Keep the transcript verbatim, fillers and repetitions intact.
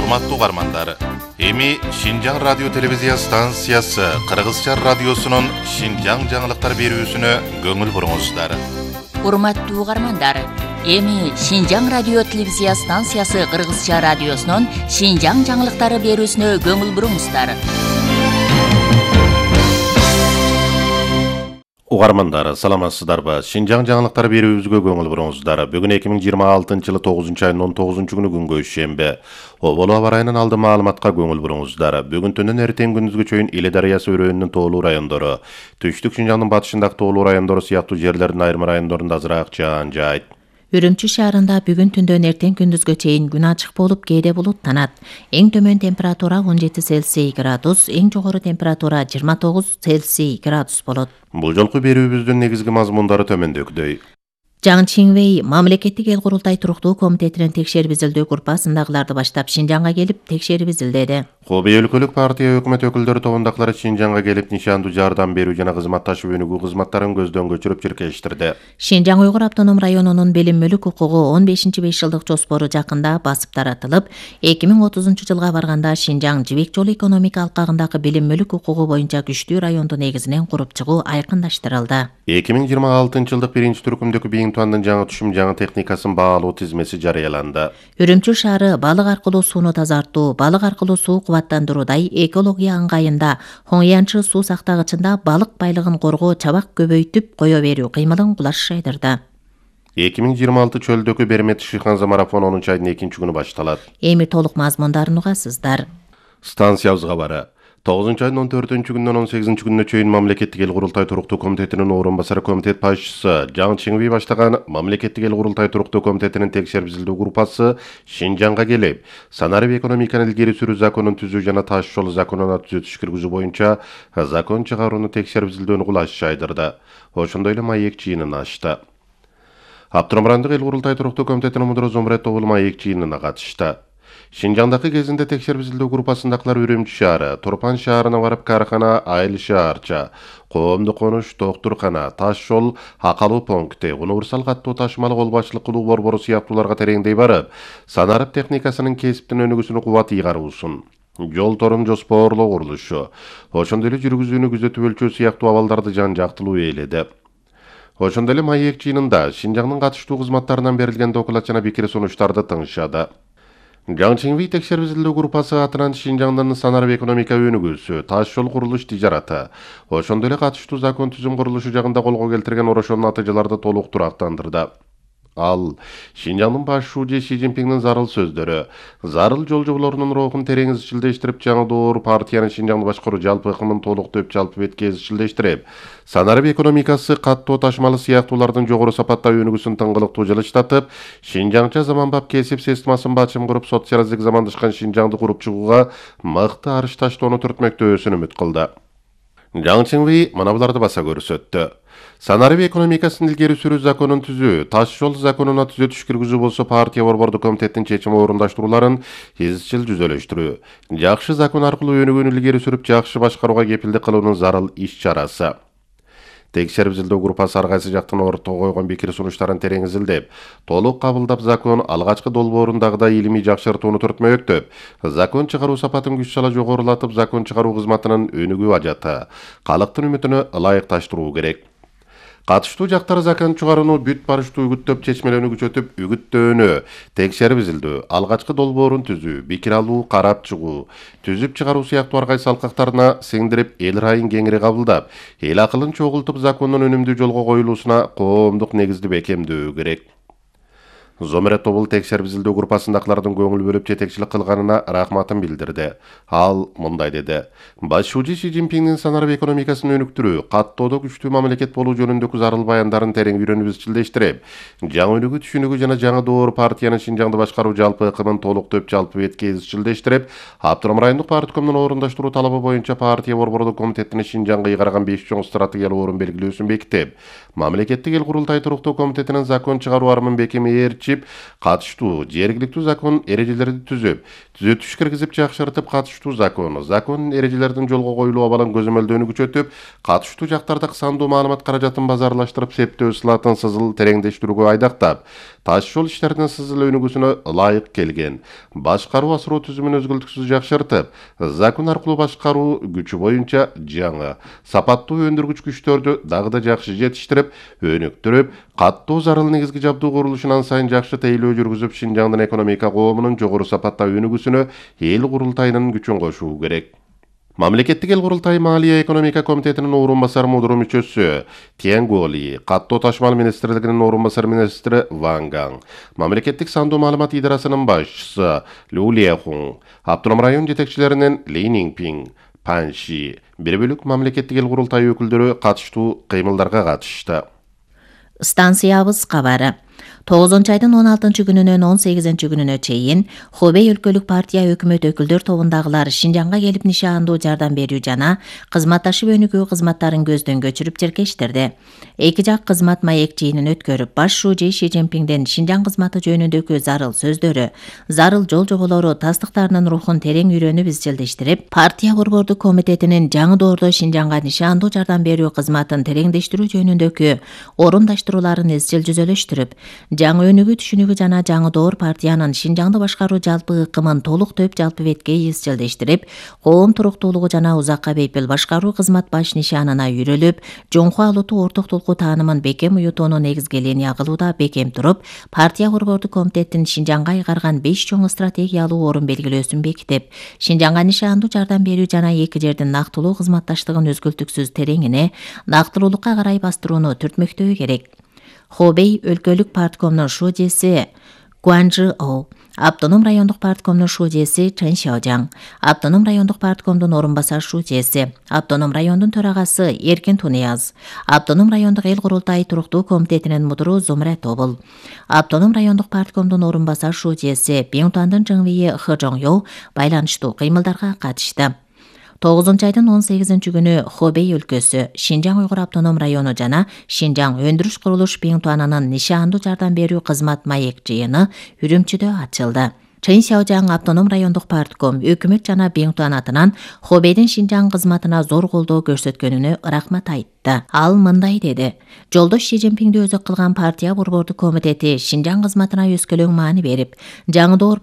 Урматтуу угармандар, эми Шинжаң радио телевизия станциясы Кыргызча радиосунун Шинжаң жаңылыктар берүүсүнө көңүл буруңуздар. Урматтуу угармандар, эми Шинжаң радио телевизия станциясы Кыргызча радиосунун Шинжаң жаңылыктары берүүсүнө көңүл буруңуздар. Угармандар, саламатсыздарбы? Шинжаң жаңылыктар берүүбүзгө көңүл буруңуздар. Бүгүн эки миң жыйырма алтынчы жылы тогузунчу айдын он тогузунчу күнү күнгө шембе. Оболу аба ырайынан алды маалыматка көңүл буруңуздар. Бүгүн түнүн эртең күндүзгө чейин Иле дарыясы өрөөнүнүн тоолуу райондору, түштүк Шинжаңдын батышындагы тоолуу райондору сыяктуу жерлердин айрым райондорунда азыраак жаан жаайт. Үрүмчү шаарында бүгүн түндөн эртең күндүзгө чейин күн ачык болуп, кээде булуттанат. Эң төмөн температура он жети Цельсий градус, эң жогору температура жыйырма тогуз Цельсий градус болот. Бул жолку берүүбүздүн негизги мазмундары төмөндөгүдөй. Жаң Чинвей мамлекеттик эл курултай туруктуу комитетинин текшерип изилдөө группасындагыларды баштап Шинжаңга келип текшерип изилдеди. Кобей өлкөлүк партия өкмөт өкүлдөрү тобундагылар Шинжаңга келип нишандуу жардам берүү жана кызматташуу өнүгүү кызматтарын көздөн көчүрүп чиркештирди. Шинжаң Уйгур автоном районунун билим мүлүк укугу он бешинчи беш жылдык жоспору жакында басып таратылып, эки миң отузунчу жылга барганда Шинжаң Жибек жолу экономика алкагындагы билим мүлүк укугу боюнча күчтүү районду негизинен куруп чыгуу айкындаштырылды. эки миң жыйырма алтынчы жылдык биринчи түркүмдөгү Бийинтуандын жаңы түшүм жаңы техникасын баалоо тизмеси жарыяланды. Үрүмчү шаары балык аркылуу сууну тазартуу, балык аркылуу суу кубаттандыруудай экология ыңгайында Хоңянчы суу сактагычында балык байлыгын коргоо, чабак көбөйтүп кое берүү кыймылын кулаш жайдырды. эки миң жыйырма алты чөлдөгү Бермет Шыханза марафон онунчу айдын экинчи күнү башталат. Эми толук мазмундарын угасыздар. Станциябызга бара. тогузунчу айдын он төртүнчү күнүнөн он сегизинчи күнүнө чейин мамлекеттик эл курултай туруктуу комитетинин орун басары комитет башчысы Жаң Чинвей баштаган мамлекеттик эл курултай туруктуу комитетинин текшерип изилдөө группасы Шинжаңга келип, санарип экономиканы илгери сүрүү законун түзүү жана таш жол законуна түзөтүш киргизүү боюнча закон чыгарууну текшерип изилдөөнү кулаш жайдырды. Ошондой эле маек жыйынын ачты. Абдурахмандык эл курултай туруктуу комитетинин мудуру Зомрет Обул маек жыйынына катышты. Шинжаңдагы кезинде текшерип изилдөө группасындагылар Үрүмчү шаары, Турпан шаарына барып каркана, Айыл шаарча, Коомдук конуш, Доктуркана, Таш жол, Акалуу пункти, универсал каттуу ташымалы кол башчылык кылуу борбору сыяктууларга тереңдей барып, санарип техникасынын кесиптин өнүгүүсүнө кубат ыйгаруусун, жол торун жоспоорлоо курулушу, ошондой эле жүргүзүүнү күзөтүп өлчөө сыяктуу абалдарды жан жактылуу ээледи. Ошондой эле маек жыйынында Шинжаңдын катыштуу кызматтарынан берилген доклад жана пикир сунуштарды тыңшады. Жаң Чинвей текшерип изилдөө группасы атынан Шинжаңдын санарип экономика өнүгүүсү, таш жол курулуш тижараты, ошондой эле катыштуу закон түзүм курулушу жагында колго келтирген орошон натыйжаларды толук турактандырды. Ал Шинжаңдын баш шууджи Си Цзиньпиңдин зарыл сөздөрү, зарыл жол жоболорунун рухун терең изчилдештирип, жаңы доор партиянын Шинжаңды башкаруу жалпы ыкымын толуктоп, жалпы бетке изчилдештирип, санарип экономикасы каттоо ташымалы сыяктуулардын жогору сапатта өнүгүүсүн тыңгылыктуу жылыштатып, Шинжаңча заманбап кесип системасын бачым куруп, социалисттик замандашкан Шинжаңды куруп чыгууга мыкты арыш таштоону түртмөктөөсүн үмүт кылды. Жаң Чинвей мына буларды баса көрсөттү. Санарип экономикасын илгери сүрүү законун түзүү, таш жол законуна түзөтүш киргизүү болсо партия борбордук комитеттин чечими орундаштырууларын изчил жүзөлөштүрүү, жакшы закон аркылуу өнүгүүнү илгери сүрүп, жакшы башкарууга кепилдик кылуунун зарыл иш-чарасы. Текшерип изилдөө группасы ар кайсы жактын ортого койгон пикир сунуштарын терең изилдеп, толук кабылдап, закон алгачкы долбоорундагыдай илимий жакшыртууну түртмөктөп, закон чыгаруу сапатын күч сала жогорулатып, закон чыгаруу кызматынын өнүгүү ажаты, калктын үмүтүнө ылайыкташтыруу керек. Катыштуу жактар закон чыгарууну бүт барыштуу үгүттөп, чечмелөөнү күчөтүп, үгүттөөнү, текшерип изилдөө, алгачкы долбоорун түзүү, пикир алуу, карап чыгуу, түзүп чыгаруу сыяктуу ар кайсы алкактарына сиңдирип, эл ырайын кеңири кабылдап, эл акылын чогултуп, закондун өнүмдүү жолго коюлуусуна коомдук негизди бекемдөө керек. Зомрет Обул текшерип изилдөө группасындагылардын көңүл бөлүп жетекчилик кылганына рахматын билдирди. Ал мындай деди: Баш шууджи Си Цзиньпиңдин санарип экономикасын өнүктүрүү, каттоодо күчтүү мамлекет болуу жөнүндөгү зарыл баяндарын терең үйрөнүп изчилдештирип, жаңы өнүгүү түшүнүгү жана жаңы доор партиянын Шинжаңды башкаруу жалпы ыкымын толуктоп, жалпы бетке изчилдештирип, Абдурахман райондук парткомдун орундаштыруу талабы боюнча партия борбордук комитетинин Шинжаңга ыйгарган беш чоң стратегиялык орун белгилөөсүн бекитип, мамлекеттик эл курултай туруктуу комитетинин закон чыгаруу армын бекеми катыштуу жергиликтүү закон эрежелерди түзүп, түзөтүш киргизип жакшыртып, катыштуу закон, закон эрежелердин жолго коюлуу абалын көзөмөлдөөнү күчөтүп, катыштуу жактардагы сандуу маалымат каражатын базарлаштырып, септөө ысылатын сызыл тереңдештирүүгө айдактап, таш жол иштеринин сызыл өнүгүүсүнө ылайык келген. Башкаруу асыруу түзүмүн өзгөлтүксүз жакшыртып, закон аркылуу башкаруу күчү боюнча жаңы, сапаттуу өндүргүч күчтөрдү дагы да жакшы жетиштирип, өнүктүрүп, каттуу зарыл негизги жабдуу курулушун ан сайын жакшы тейлөө жүргүзүп, Шинжаңдын экономика коомунун жогору сапатта өнүгүүсүнө эл курултайынын күчүн кошуу керек. Мамлекеттик эл курултайы Маалия экономика комитетинин орун басары мудуру мүчөсү Тиэн Голи, каттоо ташмал министрлигинин орун басары министри Ван Гаң, мамлекеттик сандуу маалымат идарасынын башчысы Лю Лехун, автоном район жетекчилеринин Ли Ниңпиң, Пан Ши, бир бөлүк мамлекеттик эл курултайы өкүлдөрү катыштуу кыймылдарга катышты. Станциябыз кабары. тогузунчу айдын он алтынчы күнүнөн он сегизинчи күнүнө чейин Хубей өлкөлүк партия өкмөт өкүлдөр тобундагылар Шинжаңга келип нишаандуу жардам берүү жана кызматташып өнүгүү кызматтарын көздөн көчүрүп тиркештирди. Эки жак кызмат маек жыйынын өткөрүп, баш шужи Ши Цзиньпиңдин Шинжаң кызматы жөнүндөгү зарыл сөздөрү, зарыл жол жоболору тастыктарынын рухун терең үйрөнүп изчилдештирип, партия борбордук комитетинин жаңы доордо Шинжаңга нишаандуу жардам берүү кызматын тереңдештирүү жөнүндөгү орундаштырууларын изчил жүзөлөштүрүп, жаңы өнүгүү түшүнүгү жана жаңы доор партиянын Шинжаңды башкаруу жалпы ыкымын толук төп жалпы бетке изчилдештирип, коом туруктуулугу жана узакка бейпил башкаруу кызмат баш нишанына үйрөлүп, жоңку алутуу орток толку таанымын бекем уютуунун негизги линия кылууда бекем туруп, партия борбордук комитеттин Шинжаңга айгарган беш чоң стратегиялуу орун белгилөөсүн бекитип, Шинжаңга нишаандуу жардам берүү жана эки жердин нактылуу кызматташтыгын өзгөлтүксүз тереңине, нактылуулукка карай бастырууну түртмөктөө керек. Хубей өлкөлүк парткомдун шужиси Гуанжи Оу, автоном райондук парткомдун шужиси Чэн Шаожаң, автоном райондук парткомдун орун басар шужиси, автоном райондун төрагасы Эркин Тунияз, автоном райондук эл курултайы туруктуу комитетинин мудуру Зумра Тобул, автоном райондук парткомдун орун басар шужиси Беңтуандын Жыңвийи Хы Жоңё байланыштуу кыймылдарга катышты. тогузунчу айдын он сегизинчи күнү Хубей өлкөсү, Шинжаң уйгур автоном району жана Шинжаң өндүрүш курулуш Беңтуанынын нишаандуу жардам берүү кызмат маек жыйыны Үрүмчүдө ачылды. Чэн Шаожаң автоном райондук партком өкмөт жана Беңтуан атынан Хубейдин Шинжаң кызматына зор колдоо көрсөткөнүнө рахмат айтты. Ал мындай деди: Жолдош Ши Цзиньпиңди өзөк кылган партия борбордук комитети Шинжаң кызматына өскөлөң маани берип, жаңы доор